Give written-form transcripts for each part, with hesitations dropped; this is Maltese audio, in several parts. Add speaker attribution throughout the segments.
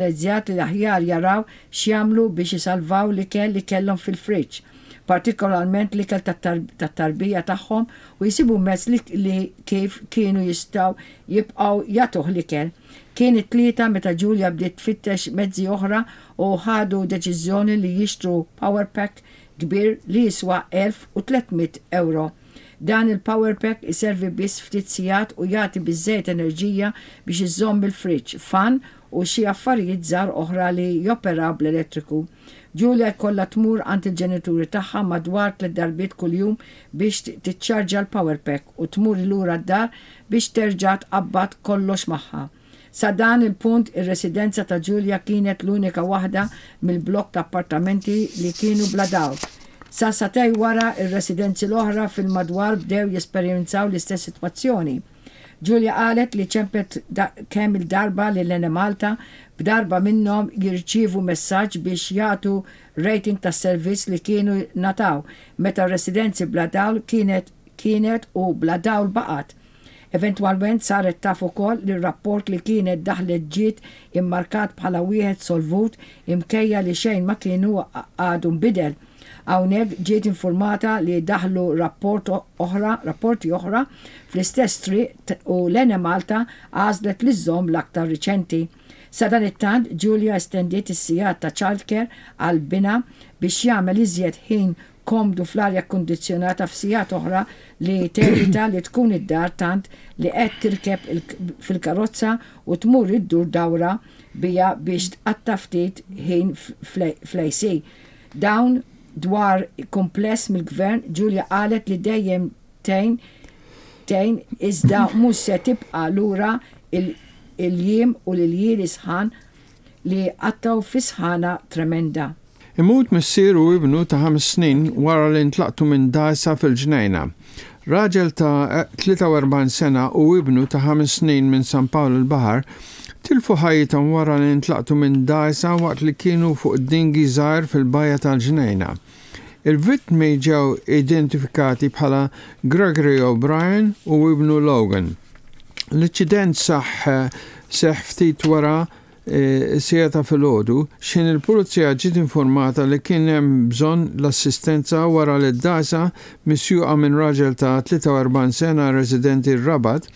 Speaker 1: Rrealizzat li l-aħjar jaraw x'jagħmlu biex isalvaw l-ikel li kellhom fil-friġġ, partikolarment l-ikel tat-tarbija tagħhom u jsibu mezz li kif kienu jistgħu jibqgħu jagħtuh l-ikel. Kien it-Tlieta meta Julia bdiet tfittex mezzi oħra u ħadu deċiżjoni li jixtru power pack kbir li jiswa 1,300 ewro. Dan il-power pack iservi biss ftit sigħat u jagħti biżżejjed enerġija biex iżomm il-friġġ, fan u xi affarijiet żgħar oħra li joperaw bl-elettriku. Julia jkollha tmur għand il-ġenituri tagħha madwar tlett darbiet kuljum biex tiċċarġja l-power pack u tmur lura d-dar biex terġa' tqabbad kollox magħha. Sa dan il-punt ir-residenza ta' Julia kienet l-unika waħda mill-blokk ta' appartamenti li kienu bla dawl. Sa sagħtejn wara ir-residenzi l-oħra fil-madwar bdew jesperjenzaw l-istess sitwazzjoni. Julia qalet li ċemplet kemm il-darba lil Enemalta b'darba minnhom jirċievu messaġġ biex jagħtu rating tas-servizz li kienu ngħataw meta r-residenzi bla dawl kienet kienet u bla dawl baqgħet. Eventwalment saret taf ukoll li r-rapport li kienet daħlet ġiet immarkat bħala wieħed solvut imkejja li xejn ma kienu għadu nbidel. Hawnhekk ġiet infurmata li daħlu rapport oħra, rapporti oħra fl-istess triq u l-Enemalta għażlet li żżomm l-aktar riċenti. Sadanittant, Julia estendiet is-sigħat ta' childcare għal binha biex jagħmel iżjed ħin komdu fl-arja kkundizzjonata f'sigħat oħra li tevita li tkun id-dar tant li qed tirkeb fil-karozza u tmur iddur dawra biha biex tqatta' ftit ħin fl-AC. Dawn dwar kumpless mill-Gvern, Julia qalet li dejjem tgħin tgħin iżda mhux se tibqa' lura il-jiem u l-iljieli sħan li qattgħu fi sħana tremenda.
Speaker 2: Imut missier u ibnu ta' ħames snin wara li ntlaqtu minn dgħajsa fil-Ġnejna. Raġel ta' 43 sena u ibnu ta' ħames snin minn San Pawl il-Baħar tilfu ħajjithom wara li ntlaqtu minn dgħajsa waqt li kienu fuq dinghy żgħir fil-bajja tal-Ġnejna. Il-vittmi ġew identifikati bħala Gregory O'Brien u ibnu Logan. L-inċident saħ seħħ ftit wara Is-siegħa ta' filgħodu, x'ħin il-Pulizija ġiet infurmata li kien hemm bżonn l-assistenza wara li d-dgħajsa misjuqa minn raġel ta' 43 sena residenti r-Rabat,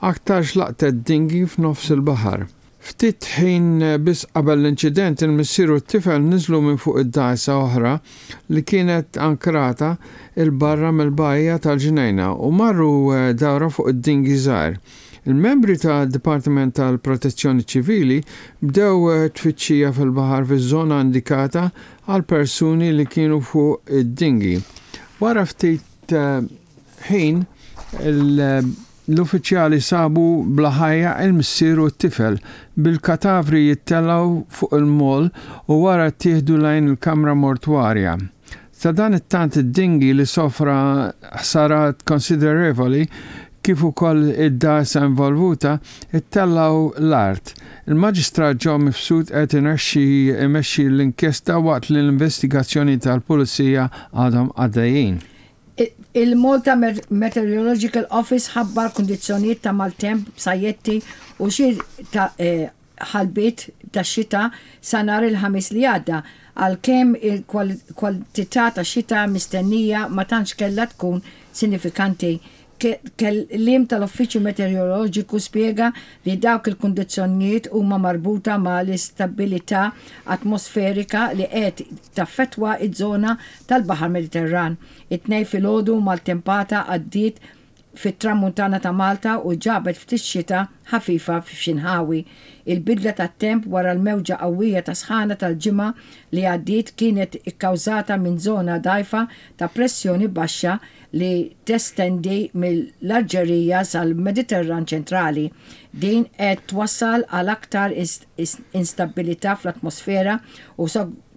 Speaker 2: aktarx laqtet dinghy f'nofs il-baħar. Ftit ħin biss qabel l-inċident il-missier u t-tifel niżlu minn fuq id-dgħajsa oħra li kienet ankrata 'il barra mill-bajja tal-Ġnejna u marru dawra fuq id-dinghy żgħir. Il-membri tad-Dipartiment tal-Protezzjoni Ċivili bdew tfittxija fil-baħar fiż-żona indikata għal persuni li kienu fuq id-dinghy. Wara ftit ħin, l-uffiċjali sabu bla ħajja il-missier u t-tifel, bil-katavri jittellgħu fuq il-moll u wara ttieħdu lejn il-kamra mortwarja. Sadanittant id-dinghy li sofra ħsarat konsiderevoli kif ukoll id-dgħajsa involvuta ttellgħu l-art. Il-Maġistrat Joe Mifsud qed inexxi imexxi l-inkjesta waqt li l-investigazzjonijiet tal-Pulizija għadhom għaddejjin.
Speaker 1: Il-Malta Meteorological Office ħabbar kundizzjonijiet ta' maltemp b'sajjetti u xi ta' ħalbiet tax-xita sa nhar il-Ħamis li għadda, għalkemm il-kwantità ta' xita mistennija ma tantx kellha tkun sinifikanti. Kelliem tal-Uffiċċju Meteoroloġiku spjega li dawk il-kundizzjonijiet huma marbuta ma' l-istabbilità atmosferika li qed taffettwa ż-żona tal-Baħar Mediterran. It-Tnejn filgħodu maltempata għaddiet fit-Tramuntana ta' Malta u ġabet ftit xita ħafifa f'xi nħawi. Il-bidla tat-temp wara l-mewġa qawwija ta' sħana tal-ġimgħa li għaddiet kienet ikkawżata minn żona dgħajfa ta' pressjoni baxxa li testendi mill-Alġerija sal-Mediterran ċentrali. Din qed twassal għal aktar instabbilità fl-atmosfera u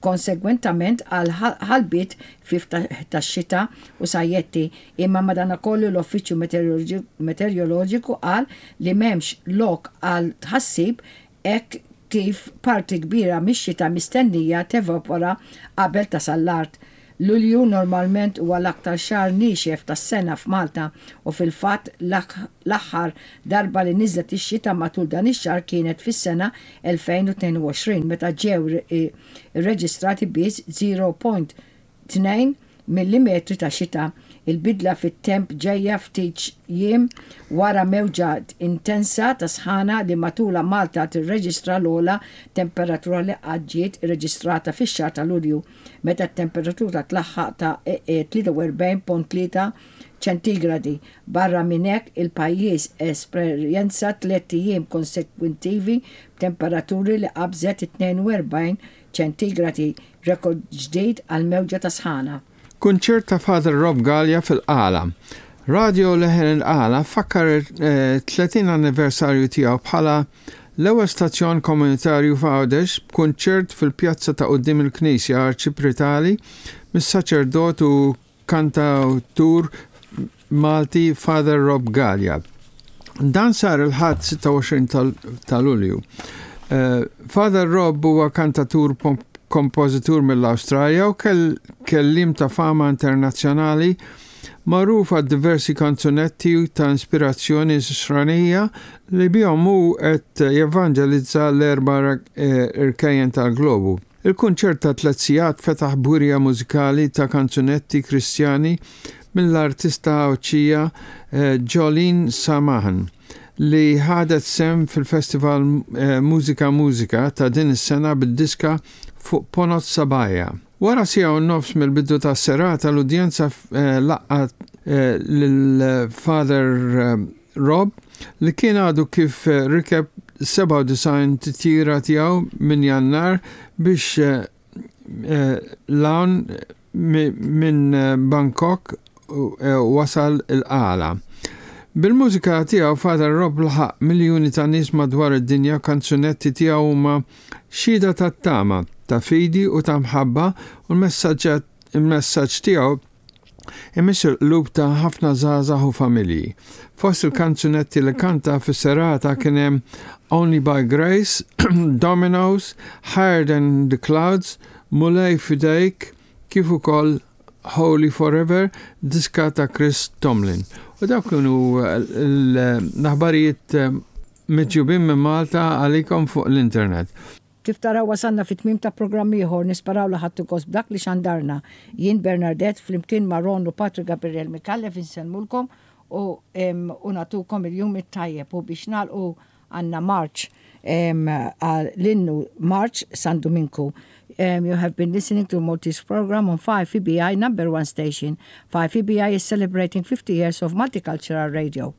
Speaker 1: konsegwentament għal ħalbiet ħfief tax-xita u sajjetti, imma madanakollu l-Uffiċċju Meteoroloġiku qal li m'hemmx lok għal tħassib hekk kif parti kbira mix-xita mistennija tevapora qabel tasal l-art. Lulju normalment huwa l-aktar xahar niexef tas-sena f'Malta u fil-fatt l-aħħar darba li niżlet ix-xita matul dan ix-xahar kienet fis-sena 2022 meta ġew irreġistrati biss 0.2 millimetri ta' xita. Il-bidla fit-temp ġejja ftit jiem wara mewġa intensa ta' sħana li matulha Malta tirreġistra l-ogħla temperatura li qatt ġiet irreġistrata fix-xahar ta' Lulju meta t-temperatura tlaħħaq ta' 43.3 ċentigradi. Barra minn hekk, il-pajjiż esperjenza tlett ijiem konsekwittivi b'temperaturi li qabżet it-42 ċentigradi, rekord ġdid għal mewġa ta' sħana.
Speaker 2: Kunċert ta' Father Rob Galea fil-Qala. Radio Leħen il-Qala fakkar il-30 anniversarju tiegħu bħala l-ewwel stazzjon komunitarju f'Għawdex b'kunċert fil-pjazza ta' quddiem il-Knisja Arċipritali mis-saċerdot u kantawtur Malti Father Rob Galea. Dan sar il-Ħadd 26 ta' Lulju. Eh, Father Rob huwa kantatur kompożitur mill-Awstralja u kelliem ta' fama internazzjonali magħruf għad diversi kanzunetti ta' ispirazzjoni nisranija li bihom hu qed jevanġelizza l-erba' eh, irkejjen tal-globu. Il-kunċert ta' tlett sigħat fetaħ b'wirja mużikali ta' kanzunetti Kristjani mill-artista Għawdxija Jolene Samahan li ħadet sehem fil-festival Mużika Mużika ta' din is-sena bid-diska Fuq Ponot Sabajja. Wara siegħa u nofs mill-bidu tas-serata l-udjenza laqgħet lil Father Rob li kien għadu kif rikeb 97 titjira tiegħu minn Jannar biex 'l hawn minn Bangkok wasal il-Qala. Bil-mużika tiegħu Father Rob laħaq miljuni ta' nies madwar id-dinja u kanzunetti tiegħu huma xhieda ta' tama, ta' fidi u ta' mħabba u l-messaġġ tiegħu imiss il-qlub ta' ħafna żgħażagħ u familji. Fost il-kanzunetti li kanta fis-serata kien hemm Only by Grace, Dominoes, Higher Than the Clouds, Mulej F'Idejk, kif ukoll Holy Forever, diska ta' Chris Tomlin. U dawk kienu l-aħbarijiet miġjubin minn Malta għalikom fuq l-internet.
Speaker 1: Kif taraw wasalna fit-tmiem ta' programm ieħor, nisperaw li ħadtu gost b'dak li xandarna. Jien Bernardette flimkien ma' Ron u Patri Gabriel Micallef insellmulkom u u nagħtukom il-jum it-tajjeb u biex nagħlqu għandna marċ l-innu Marċ San Duminku. You have been listening to Maltese program on 5EBI number 1 station. 5EBI is celebrating 50 years of multicultural radio.